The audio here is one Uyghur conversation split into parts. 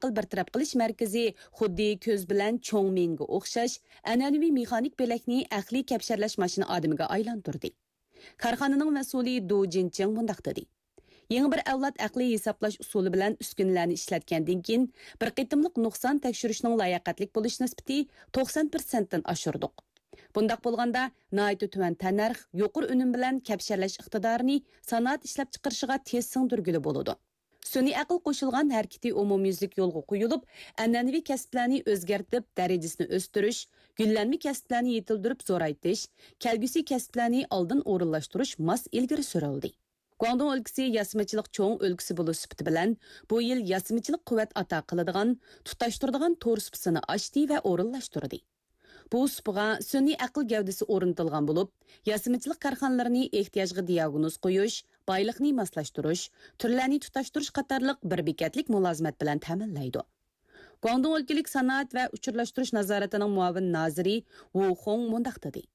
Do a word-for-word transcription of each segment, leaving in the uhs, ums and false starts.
ئەقىل بىر تەرەپ قىلىش مەركىزى خۇددى كۆز بىلەن چوڭ مېڭىگە ئوخشاش ئەنئەنىۋى مېخانىك بۆلەكنى ئەقلىي كەپشەرلەش ماشىنا ئادىمىگە ئايلاندۇردى. كارخانىنىڭ مەسئۇلى دۇ جىنچىڭ مۇنداق دېدى: يېڭى بىر ئەۋلاد ئەقلىي ھېسابلاش ئۇسۇلى بىلەن ئۈسكۈنىلەرنى ئىشلەتكەندىن كېيىن، بىر قېتىملىق نۇقسان تەكشۈرۈشنىڭ لاياقەتلىك بولۇش نىسبىتى توقسان پىرسەنتتىن ئاشۇردۇق. بۇنداق بولغاندا، ناھايىتى تۆۋەن تەننەرخ، يۇقىرى ئۈنۈم بىلەن كەپشەرلەش ئىقتىدارىنى سانائەت ئىشلەپچىقىرىشىغا تېز سىڭدۈرگىلى بولىدۇ. سۈنئىي ئەقىل قوشۇلغان ھەرىكىتى ئومۇميۈزلۈك يولغا قويۇلۇپ، ئەنئەنىۋى كەسىپلەرنى ئۆزگەرتىپ، دەرىجىسىنى ئۆستۈرۈش، گۈللەنمە كەسىپلەرنى يېتىلدۈرۈپ زورايتىش، كەلگۈسى كەسىپلەرنى ئالدىن ئورۇنلاشتۇرۇش ماس ئىلگىرى سۈرۈلدى. گۇاڭدۇڭ ئۆلكىسى ياسىمىچىلىق چوڭ ئۆلكىسى بولۇش سۈپىتى بىلەن، بۇ يىل ياسىمىچىلىق قۇۋۋەت ئاتا قىلىدىغان، تۇتاشتۇرىدىغان تور سۇپىسىنى ئاچتى ۋە ئورۇنلاشتۇردى. بۇ سۇپىغا سۈنئىي ئەقىل گەۋدىسى ئورنىتىلغان بولۇپ، ياسىمىچىلىق كارخانىلىرىنى ئېھتىياجغا دىئاگنوز قويۇش، بايلىقنى ماسلاشتۇرۇش، تۈرلەرنى تۇتاشتۇرۇش قاتارلىق بىر بېكەتلىك مۇلازىمەت بىلەن تەمىنلەيدۇ. گۇاڭدۇڭ ئۆلكىلىك سانائەت ۋە ئۇچۇرلاشتۇرۇش نازارىتىنىڭ مۇئاۋىن نازىرى ۋۇ خۇڭ مۇنداق دېدى: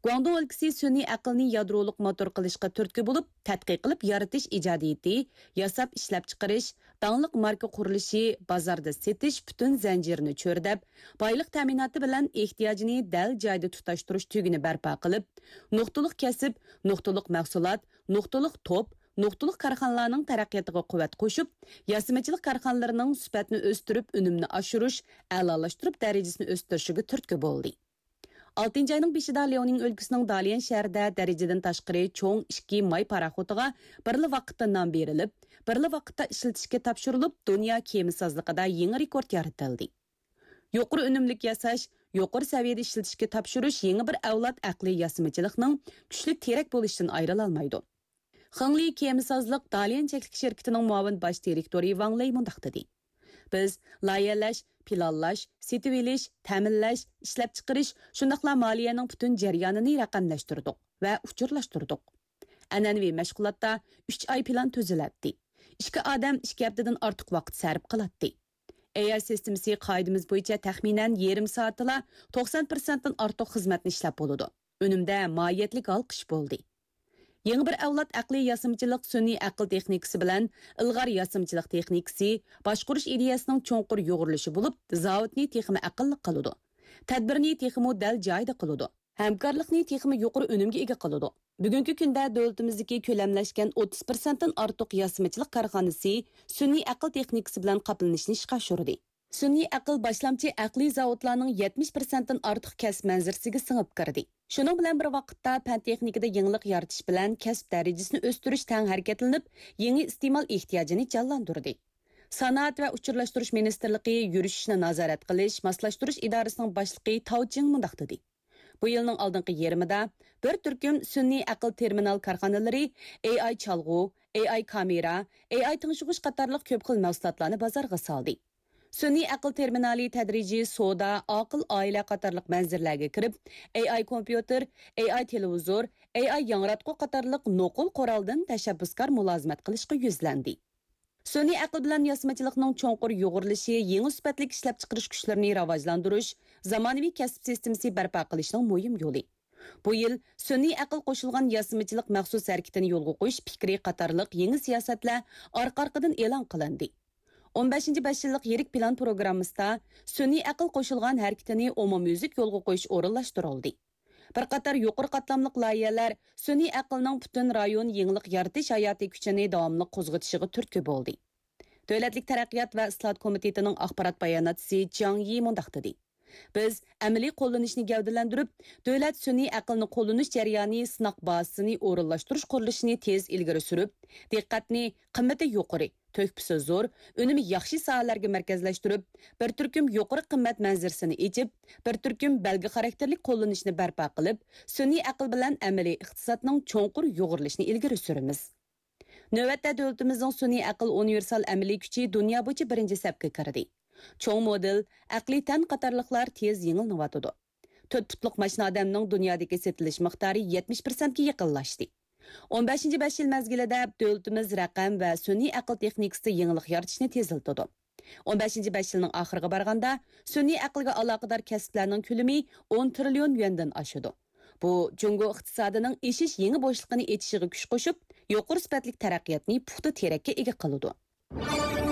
گۇاڭدۇڭ ئۆلكىسى سۈنئىي ئەقىلنى يادرولۇق موتور قىلىشقا تۈرتكە بولۇپ، تەتقىق قىلىپ يارىتىش ئىجادىيىتى، ياساپ ئىشلەپچىقىرىش، داڭلىق ماركا قۇرۇلۇشى، بازاردا سېتىش پۈتۈن زەنجىرىنى چۆرىدەپ، بايلىق تەمىناتى بىلەن ئېھتىياجىنى دەل جايىدا تۇتاشتۇرۇش تۈگۈنى بەرپا قىلىپ، نۇقتىلىق كەسىپ، نۇقتىلىق مەھسۇلات، نۇقتىلىق توپ، نۇقتىلىق كارخانىلارنىڭ تەرەققىياتىغا قۇۋۋەت قوشۇپ، ياسىمىچىلىق كارخانىلىرىنىڭ سۈپەتنى ئۆستۈرۈپ، ئۈنۈمنى ئاشۇرۇش، ئەلالاشتۇرۇپ دەرىجىسىنى ئۆستۈرۈشىگە تۈرتكە بولدى. ئالتىنچى ئاينىڭ بېشىدا لياۋنىڭ ئۆلكىسىنىڭ داليەن شەھىرىدە دەرىجىدىن تاشقىرى چوڭ ئىككى ماي پاراخوتىغا بىرلا ۋاقىتتا نام بېرىلىپ، بىرلا ۋاقىتتا ئىشلىتىشكە تاپشۇرۇلۇپ، دۇنيا كېمىسازلىقىدا يېڭى رېكورت يارىتىلدى. يۇقىرى ئۈنۈملۈك ياساش، يۇقىرى سەۋىيەدە ئىشلىتىشكە تاپشۇرۇش يېڭى بىر ئەۋلاد ئەقلىي ياسىمىچىلىقنىڭ كۈچلۈك تىرەك بولۇشىدىن ئايرىلالمايدۇ. خېڭلى كېمىسازلىق داليەن چەكلىك شىركىتىنىڭ مۇئاۋىن باش دىرېكتورى ۋاڭ لېي مۇنداق دېدى: بىز لايىھەلەش، پىلانلاش، سېتىۋېلىش، تەمىنلەش، ئىشلەپچىقىرىش، شۇنداقلا مالىيەنىڭ پۈتۈن جەريانىنى رەقەملەشتۈردۇق ۋە ئۇچۇرلاشتۇردۇق. ئەنئەنىۋى مەشغۇلاتتا ئۈچ ئاي پىلان تۈزۈلەتتى. ئىككى ئادەم ئىككى ھەپتىدىن ئارتۇق ۋاقىت سەرپ قىلاتتى. ئەي ئاي سىستېمىسى قائىدىمىز بويىچە تەخمىنەن يېرىم سائەتتىلا توقسان پىرسەنتتىن ئارتۇق خىزمەتنى ئىشلەپ بولىدۇ. ئۈنۈمدە ماھىيەتلىك ھالقىش بولدى. يېڭى بىر ئەۋلاد ئەقلىي ياسىمىچىلىق سۈنئىي ئەقىل تېخنىكىسى بىلەن ئىلغار ياسىمىچىلىق تېخنىكىسى باشقۇرۇش ئىدىيەسىنىڭ چوڭقۇر يۇغۇرۇلۇشى بولۇپ، زاۋۇتنى تېخىمۇ ئەقىللىق قىلىدۇ. تەدبىرنى تېخىمۇ دەل جايىدا قىلىدۇ. ھەمكارلىقنى تېخىمۇ يۇقىرى ئۈنۈمگە ئىگە قىلىدۇ. بۈگۈنكى كۈندە دۆلىتىمىزدىكى كۆلەملەشكەن ئوتتۇز پىرسەنتتىن ئارتۇق ياسىمىچىلىق كارخانىسى سۈنئىي ئەقىل تېخنىكىسى بىلەن قاپلىنىشنى ئىشقا ئاشۇردى. سۈنئىي ئەقىل باشلامچى ئەقلىي زاۋۇتلارنىڭ يەتمىش پىرسەنتتىن ئارتۇق كەسىپ مەنزىرىسىگە سىڭىپ كىردى. شۇنىڭ بىلەن بىر ۋاقىتتا، پەن تېخنىكىدا يېڭىلىق يارىتىش بىلەن كەسىپ دەرىجىسىنى ئۆستۈرۈش تەڭ ھەرىكەتلىنىپ، يېڭى ئىستېمال ئېھتىياجىنى جانلاندۇردى. سانائەت ۋە ئۇچۇرلاشتۇرۇش مىنىستىرلىقى يۈرۈشۈشنى نازارەت قىلىش، ماسلاشتۇرۇش ئىدارىسىنىڭ باشلىقى تاۋ چىڭ مۇنداق دېدى: بۇ يىلنىڭ ئالدىنقى يېرىمىدا بىر تۈركۈم سۈنئىي ئەقىل تېرمىنال كارخانىلىرى، ئەي ئاي چالغۇ، ئەي ئاي كامېرا، ئەي ئاي تىڭشىغۇچ قاتارلىق كۆپ خىل مەھسۇلاتلارنى بازارغا سالدى. سۈنئىي ئەقىل تېرمىنالى تەدرىجىي سودا، ئاقىل ئائىلە قاتارلىق مەنزىرىلەرگە كىرىپ، ئەي ئاي كومپيۇتېر، ئەي ئاي تېلېۋىزور، ئەي ئاي ياڭراتقۇ قاتارلىق نوقۇل قورالدىن تەشەببۇسكار مۇلازىمەت قىلىشقا يۈزلەندى. سۈنئىي ئەقىل بىلەن ياسىمىچىلىقنىڭ چوڭقۇر يۇغۇرۇلۇشى يېڭى سۈپەتلىك ئىشلەپچىقىرىش كۈچلىرىنى راۋاجلاندۇرۇش، زامانىۋى كەسىپ سىستېمىسى بەرپا قىلىشنىڭ مۇھىم يولى. بۇ يىل سۈنئىي ئەقىل قوشۇلغان ياسىمىچىلىق مەخسۇس ھەرىكىتىنى يولغا قويۇش پىكرى قاتارلىق يېڭى سىياسەتلەر ئارقا-ئارقىدىن ئېلان قىلىندى. ئون بەشىنچى بەش يىللىق يىرىك پىلان پروگراممىسىدا سۈنئىي ئەقىل قوشۇلغان ھەرىكىتىنى ئومۇميۈزلۈك يولغا قويۇش ئورۇنلاشتۇرۇلدى. بىر قاتار يۇقىرى قاتلاملىق لايىھەلەر سۈنئىي ئەقىلنىڭ پۈتۈن رايون يېڭىلىق يارىتىش ھاياتىي كۈچىنى داۋاملىق قوزغىتىشىغا تۈرتكە بولدى. دۆلەتلىك تەرەققىيات ۋە ئىسلاھات كومىتېتىنىڭ ئاخبارات باياناتچىسى جياڭ يى مۇنداق دېدى: بىز ئەمەلىي قوللىنىشنى گەۋدىلەندۈرۈپ، دۆلەت سۈنئىي ئەقىلنى قوللىنىش جەريانى سىناق بازىسىنى ئورۇنلاشتۇرۇش قۇرۇلۇشىنى تېز ئىلگىرى سۈرۈپ، دىققەتنى قىممىتى يۇقىرى، تۆھپىسى زور، ئۈنۈمى ياخشى ساھەلەرگە مەركەزلەشتۈرۈپ، بىر تۈركۈم يۇقىرى قىممەت مەنزىرىسىنى ئېچىپ، بىر تۈركۈم بەلگە خاراكتېرلىك قوللىنىشنى بەرپا قىلىپ، سۈنئىي ئەقىل بىلەن ئەمەلىي ئىقتىسادنىڭ چوڭقۇر يۇغۇرۇلۇشىنى ئىلگىرى سۈرىمىز. نۆۋەتتە دۆلىتىمىزنىڭ سۈنئىي ئەقىل ئۇنىۋېرسال ئەمەلىي كۈچى دۇنيا بويىچە بىرىنچى سەپكە كىردى. چوڭ مودېل، ئەقلىي تەن قاتارلىقلار تېز يېڭىلىنىۋاتىدۇ. تۆت پۇتلۇق ماشىنا ئادەمنىڭ دۇنيادىكى سېتىلىش مىقدارى يەتمىش پىرسەنتكە يېقىنلاشتى. ئون بەشىنچى بەش يىل مەزگىلىدە دۆلىتىمىز رەقەم ۋە سۈنئىي ئەقىل تېخنىكىسىدا يېڭىلىق يارىتىشنى تېزلىتىدۇ. ئون بەشىنچى بەش يىلنىڭ ئاخىرىغا بارغاندا، سۈنئىي ئەقىلگە ئالاقىدار كەسىپلەرنىڭ كۆلىمى ئون تىرىليون يۈەندىن ئاشىدۇ. بۇ جۇڭگو ئىقتىسادىنىڭ ئېشىش يېڭى بوشلۇقىنى ئېچىشىغا كۈچ قوشۇپ، يۇقىرى سۈپەتلىك تەرەققىياتنى پۇختا تىرەككە ئىگە قىلىدۇ.